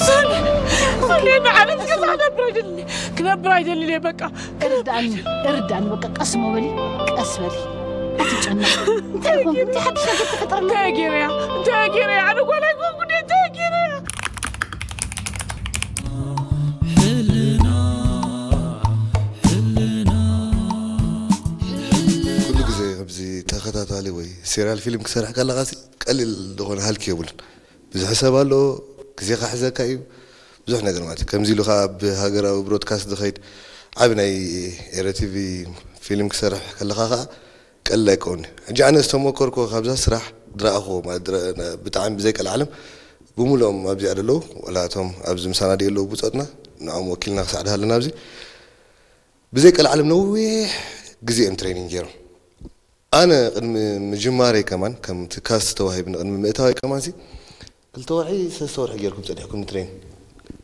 ሰኒ፣ ሰኒ፣ ንዓለም ክሳዕ ክነብር ኣይደልን፣ ክነብር ኣይደልን እየ በቃ። እርዳእኒ እርዳእኒ በቃ ቀስ ሞ በሊ ቀስ በሊ ኣትጨነቂ። እንታይ ኮንኩ? እንታይ ሓድሽ ነገር ተፈጠረ? እንታይ ገይረያ? እንታይ ገይረያ? ኣነ ጓል ኣይኮንኩ ድየ? እንታይ ገይረያ? ኩሉ ግዜ ከምዚ ተኸታታሊ ወይ ሴሪያል ፊልም ክሰርሕ ከለኻ ሲ ቀሊል ዝኾነ ሃልኪ የብሉን። ብዙሕ ሰብ ኣሎ፣ ግዜ ክሕዘካ እዩ፣ ብዙሕ ነገር ማለት እዩ። ከምዚ ኢሉ ከዓ ኣብ ሃገራዊ ብሮድካስት ዝኸይድ ዓቢ ናይ ኤረ ቲቪ ፊልም ክሰርሕ ከለኻ ከዓ ቀሊል ኣይከውን እዩ። ሕጂ ኣነ ዝተሞከርኩ ካብዛ ስራሕ ዝረኣኽዎ ማለት ዝረ- ብጣዕሚ ብዘይ ቀልዓለም ብምሉኦም ኣብዚኣ ዘለዉ ዋላ እቶም ኣብዚ ምሳና ድየ ኣለዉ ብፆትና ንዕኦም ወኪልና ክሳዕ ድሃለና ኣብዚ ብዘይ ቀልዓለም ነዊሕ ግዜ እዮም ትሬኒንግ ገይሮም። ኣነ ቅድሚ ምጅማረይ ከማን ከምቲ ካስት ተዋሂብኒ ቅድሚ ምእታወይ ከማን ሲ ክልተ ወርሒ ሰለስተ ወርሒ ገይርኩም ፀኒሕኩም ትሬን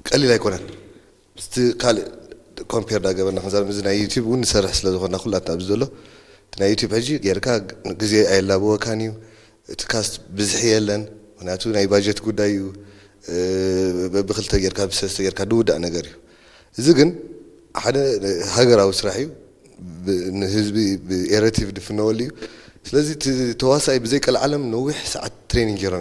ቀሊል ኣይኮነን። ምስቲ ካልእ ኮምፔር ዳገበርና ክንዛረብ እዚ ናይ ዩቲብ እውን ንሰርሕ ስለ ዝኾንና ኩላትና ኣብዚ ዘሎ እቲ ናይ ዩቲብ ሕጂ ጌርካ ግዜ ኣየላበወካን እዩ። እቲ ካስት ብዝሒ የለን፣ ምክንያቱ ናይ ባጀት ጉዳይ እዩ። በብክልተ ጌርካ ብሰለስተ ጌርካ ድውዳእ ነገር እዩ። እዚ ግን ሓደ ሃገራዊ ስራሕ እዩ። ንህዝቢ ብኤረቲቭ ድፍነወሉ እዩ። ስለዚ እቲ ተዋሳኢ ብዘይ ቀልዓለም ነዊሕ ሰዓት ትሬኒንግ ገይሮም